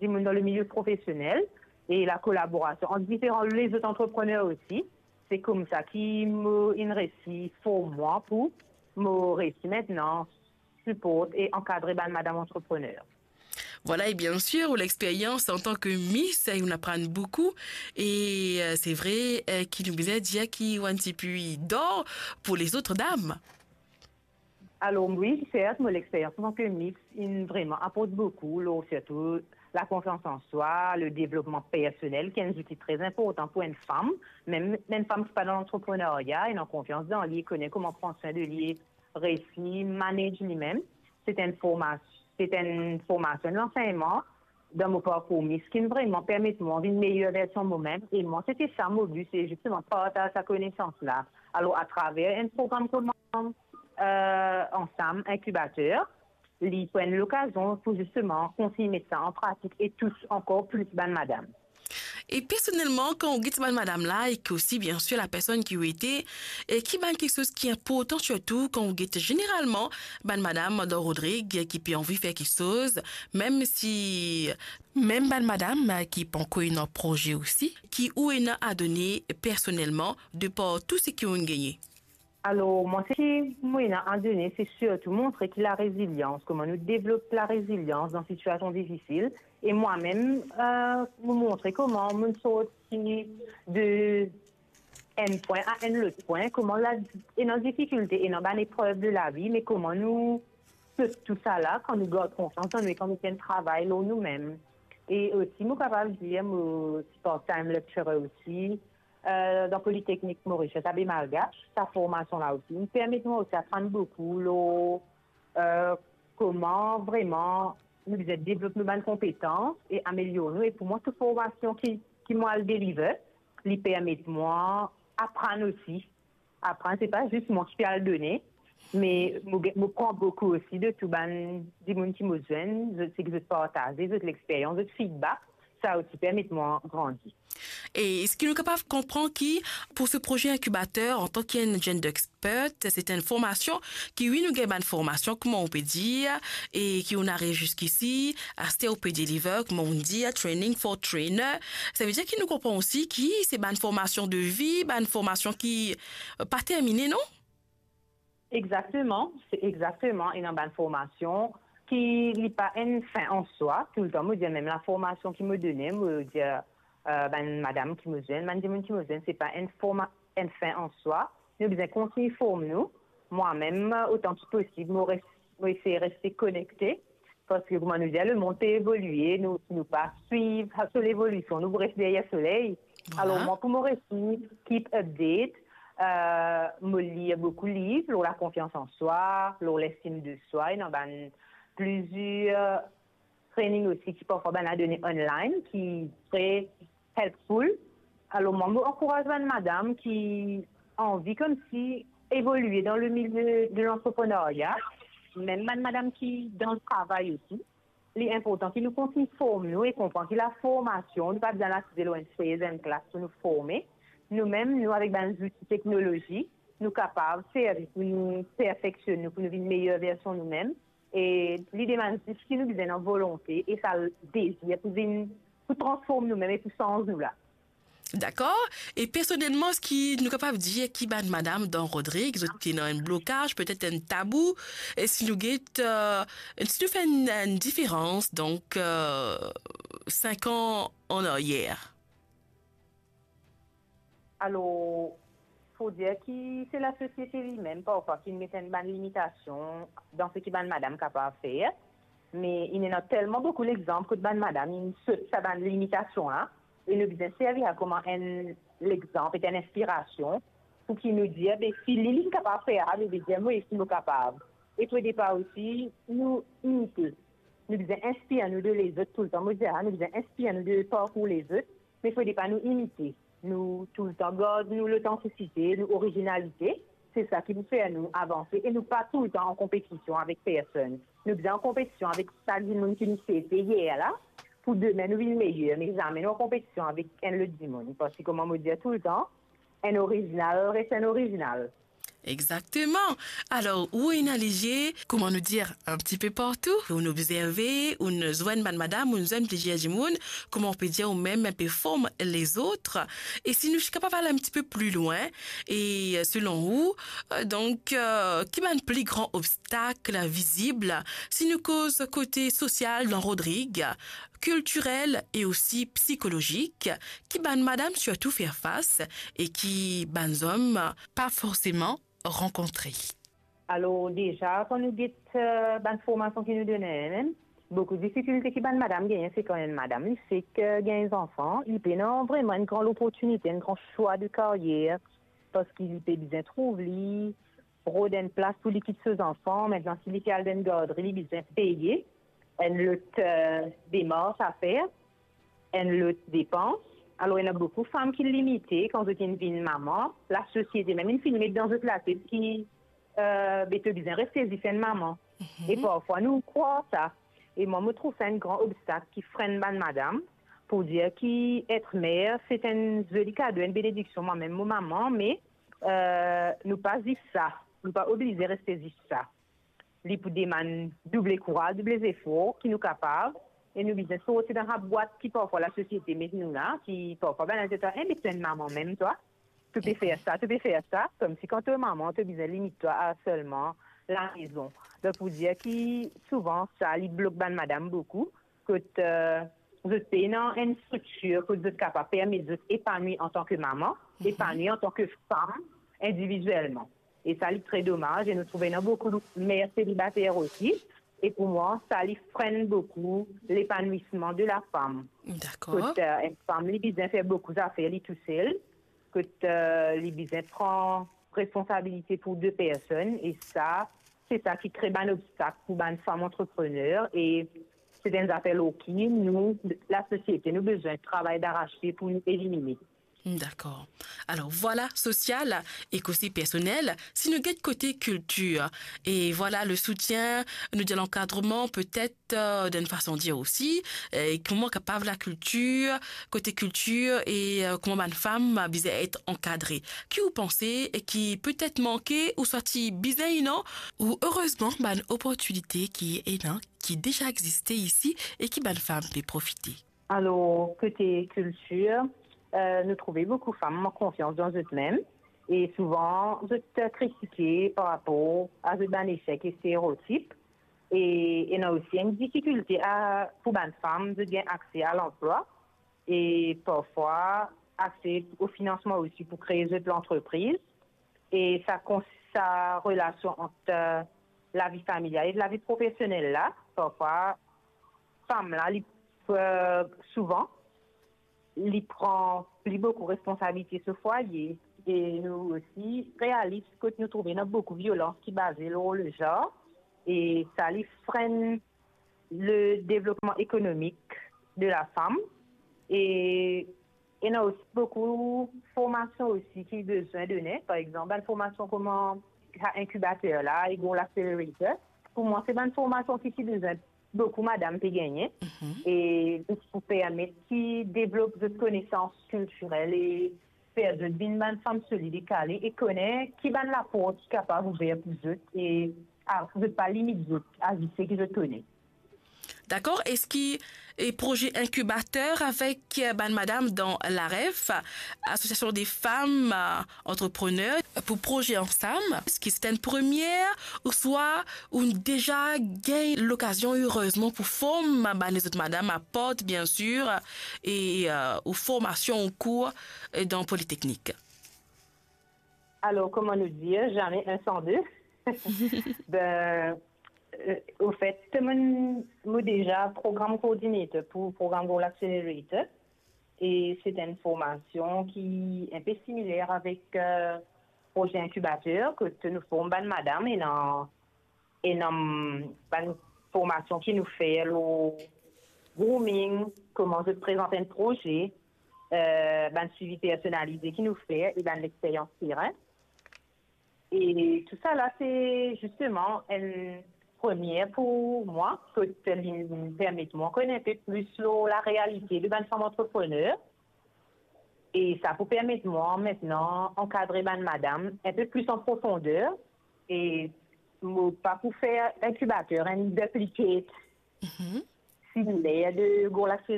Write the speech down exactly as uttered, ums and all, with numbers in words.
dimoun dan le milie profesionel e lakolaborasion ant diferan lezot antreprener osi. Se koumsa ki mo inn resi form mwa pou mo resi aster siport e ankadre bann madam antreprener. Vwala, e biensir, ou lexperyans antan ke Miss, eh, ou'nn aprann boukou. E, eh, se vre, eh, ki nou bizin dir ki ou enn tipe d'or pou lezot dam. Alor, wi, sert, mo lexperyans antan ke Miss inn vreman aport boukou, lor sirtou lakonfians an swa, le devlopman personel, ki enn zouti tre inportan pou enn fam, mem enn fam ki pa dan lantreprenarya, ena konfians dan li, kone kouma pran swin de li, resi manage limem. Se enn formas-, se enn formasion, enn lansegnman dan mo parkour Miss ki vreman permet mwa vinn meyer version momem. E mwa, se ti sa mo bi, se zisteman partaz sa konesans la. Alor, atraver enn program kouma, eh, Ansam Inkibater, li pou enn lokazion pou zisteman kontign met sa an pratik e tous ankor plis bann madam. E personelman, kan ou get bann madam la, e ki osi, biensir, lapersonn ki ou ete, e ki bann kiksoz ki inportan sirtou kan ou get zeneralman bann madam dan Rodrig ki pe anvi fer kiksoz, mem si, mem bann madam ki pankor ena proze osi, ki ou ena a done personelman de par tou seki ou'nn gagne? Alor, mwa, seki mo ena a done, se sirtou montre ki larezilians, kouma nou devlop larezilians dan sitiasion difisil. E mwa mem, eh, mo montre kouma mo'nn sorti de enn pwin a enn lot pwin, kouma la, ena difikilte, ena bann eprev de lavi, me kouma nou sot tousala, kan nou gard konfians an nou e kan nou fer enn travay lor noumem. E osi, mo kapav dir, mo ti part-time lecturer osi, eh, dan Politeknik Mauritius, Abbé Malgache. Sa formasion la osi, li permet mwa osi aprann boukou lor, eh, kouma vreman nou bizin devlop nou bann konpetans e amelior nou. E pou mwa, tou formasion ki, ki mo al deliver, li permet mwa aprann osi. Aprann, se pa zis mwa ki pe al done, me mo, mo pran boukou osi de tou bann dimoun ki mo zwenn, zot, seki zot partaze, zot lexperyans, zot feedback, sa osi permet mwa grandi. E eski nou kapav konpran ki pou se proze inkibater, antan ki enn gender expert, se enn formasion ki, wi, nou gagn bann formasion, kouma ou pe dir, e ki ou'nn ariv ziskisi, aster ou pe deliver, kouma ou'nn dir, training for trainer. Savedir ki nou konpran osi ki se bann formasion de vi, bann formasion ki, eh, pa termine, non? Exakteman, se exakteman, ena bann formasion ki li pa enn fin an swa. Toultan mo dir, mem laformasion ki mo done, mo dir, eh, bann madam ki mo zwenn, bann dimoun ki mo zwenn, se pa enn forma-, enn fin an swa. Nou bizin kontign form nou. Mwa mem, otan ki posib, mo res-, mo esey reste konekte. Parski, kouma nou dir, lemond pe evolie, nou, si nou pa swiv so levolision, nou pou res deryer soley. Vwala. Alor, mwa, pou mo resi keep update, eh, mo lir boukou liv lor lakonfians an swa, lor lestim de swa, ena bann plizier training osi ki parfwa bann la done online, ki tre helpful. Alor, mwa, mo ankouraz bann madam ki anvi koumsi evolie dan le milie de lantreprenarya, mem bann madam ki dan travay osi. Li inportan ki nou kontign form nou e konpran ki laformasion, nou pa bizin al asize lor enn sez, enn klas pou nou forme. Noumem, nou, avek bann zouti teknolozi, nou kapav servi pou nou perfeksionn nou, pou nou vinn meyer version noumem. E li demann zis ki nou bizin ena volonte e sa dezir pou vinn, pou transform noumem e pou sanz nou la. Dakor. E personelman, eski nou kapav dir ki bann madam dan Rodrig, zot ena enn blokaz, petet enn tabou, e si nou get, eh, si nou fer enn, enn diferans, donk, eh, sink an an aryer? Alor, fode dir ki se lasosiete limem parfwa ki met enn bann limitasion dan seki bann madam kapav fer. Me inn ena telman boukou lexanp kot bann madam inn sot sa bann limitasion la, e nou bizin servi sa kouma enn lexanp, ek enn inspirasion, pou ki nou dir, be, si li, li kapav fer sa, be, be, dir mwa si mo kapav. E fode pa osi nou imite. Nou bizin inspir nou de lezot toultan. Mo dir sa, nou bizin inspir nou de parkour lezot, me fode pa nou imite. Nou toultan gard nou lotantisite, nou orizinalite. Se sa ki pou fer nou avanse e nou pa toultan an konpetision avek personn. Nou bizin an konpetision avek sa dimoun ki nou ti ete yer la, pou demin nou vinn meyer, me zame nou an konpetision avek enn lot dimoun. Parski, kouma mo dir toultan, enn orizinal res enn orizinal. Exakteman. Alor, ou ena lizie, kouma nou dir, enn tipe partou, ou'nn obzerve, ou'nn zwenn bann madam, ou'nn zwenn plizier dimoun, kouma ou pe dir, ou mem enpe form lezot. E si nou ti kapav al enn tipe pli lwin, e, selon ou, e, donk, e, ki bann pli gran obstak vizib, si nou koz kote sosial dan Rodrig, kiltirel e osi psikolozik, ki bann madam sirtou fer fas e ki bann zom pa forseman rankontre? Alor, deza, kan nou get, e, bann formasion ki nou done, mem, boukou difikilte ki bann madam gagne, se kan enn madam, li fek, e, gagn zanfan, li pena vreman enn gran loportinite, enn gran swa de karyer, parski li pe bizin trouv li, rod enn plas pou li kit so zanfan. Aster, si li pe al dan enn gardri, li bizin peye enn lot, e, demars a fer, enn lot depans. Alor, ena boukou fam ki limite kan zot inn vinn mama. Lasosiete mem inn finn met dan zot latet ki, e, be to bizin reste zis enn mama. E parfwa, nou krwar sa. E mwa, mo trouv sa enn gran obstak ki frenn bann madam, pou dir ki et mer, se enn zoli kado, enn benediksion. Mwa mem, mo mama, me, e, nou pa zis sa. Nou pa oblize reste zis sa. Li pou demann double kouraz, double zefor ki nou kapav, e nou bizin sorti dan sa bwat ki parfwa lasosiete met nou la, ki parfwa bann-la dir twa, "E, me to enn mama mem, twa. To pe fer sa, to pe fer sa." Koumsi kan to mama, to bizin limit twa a selman lalezon. Donk, pou dir ki souvan, sa, li blok bann madam boukou, kot, e, zot pena enn striktir kot zot kapav permet zot epanwi antan ki mama, epanwi antan ki fam, individielman. E sa, li tre domaz, e nou trouve ena boukou mer selibater osi. E pou mwa, sa, li frenn boukou lepanwisman de lafam. Dakor. Kot, e, enn fam, li bizin fer boukou zafer li tousel, kot, e, li bizin pran responsabilite pou de personn, e sa, se sa ki kre bann obstak pou bann fam antreprener, e se enn zafer lor ki nou, lasosiete, nou bizin travay darasie pou nou elimine. Dakor. Alor, vwala, sosial ek osi personel. Si nou get kote kiltir, e vwala, le soutien, nou dir lankadreman, petet, e, dan enn fason dir osi, e kouma kapav lakiltir, kote kiltir e, e, kouma bann fam bizin et ankadre. Ki ou panse e ki petet manke ouswa ti bizin ena, ou erezman bann oportinite ki ena, ki deza existe isi e ki bann fam pe profite? Alor, kote kiltir, e, nou trouve boukou fam mank konfians dan zot mem, e souvan zot kritike par rapor a zot bann esek e stereotip, e ena osi enn difikilte a, pou bann fam, zot gagn akse a lanplwa, e parfwa akse o finansman osi pou kree zot lantrepriz. E sa kons-, sa relasion ant, e, lavi familial e lavi profesionel la, parfwa, fam la, li, e, souvan, li pran pli boukou responsabilite so fwaye. E nou osi realis kot nou trouve ena boukou violans ki baze lor lezar, e sa, li frenn le devlopman ekonomik de lafam. E ena osi boukou formasion osi ki bizin done. Par exanp, bann formasion kouma sa inkibater la, e gro accelerator. Pou mwa, se bann formasion ki, ki bizin boukou madam pe gagne. E pou permet ki devlop zot konesans kiltirel e fer zot vinn bann fam solid e kale e kone ki bann laport ki kapav ouver pou zot e, a, zot pa limit zot a zis seki zot kone. Dakor, eski, e, proze inkibater avek, e, bann madam dan l'AREF, Association des Femmes, e, Entrepreneurs, pou proze ansam, eski se enn premie, ouswa ou'nn deza gagn lokazion, erezman, pou form bann lezot madam apart, bien sir, e, e, ou formasion ou kour, e, dan Politeknik? Alor, kouma nou dir, zame enn san de. Be, e, ofet, mo, mo deza program coordinator pou program Goal Accelerator. E se enn formasion ki enpe similer avek, e, proze inkibater, kot nou form bann madam, ena, ena bann formasion ki nou fer lor grooming, kouma zot prezant enn proze, e, bann swivi personalize ki nou fer e bann lexperyans teren. E tousala, se zisteman enn premie pou mwa, kot li permet mwa konn enpe plis lor larealite de bann fam antreprener. E sa pou permet mwa aster ankadre bann madam inpe plis an profonder e mo pa pou fer inkibater enn duplicate similer de gro laksel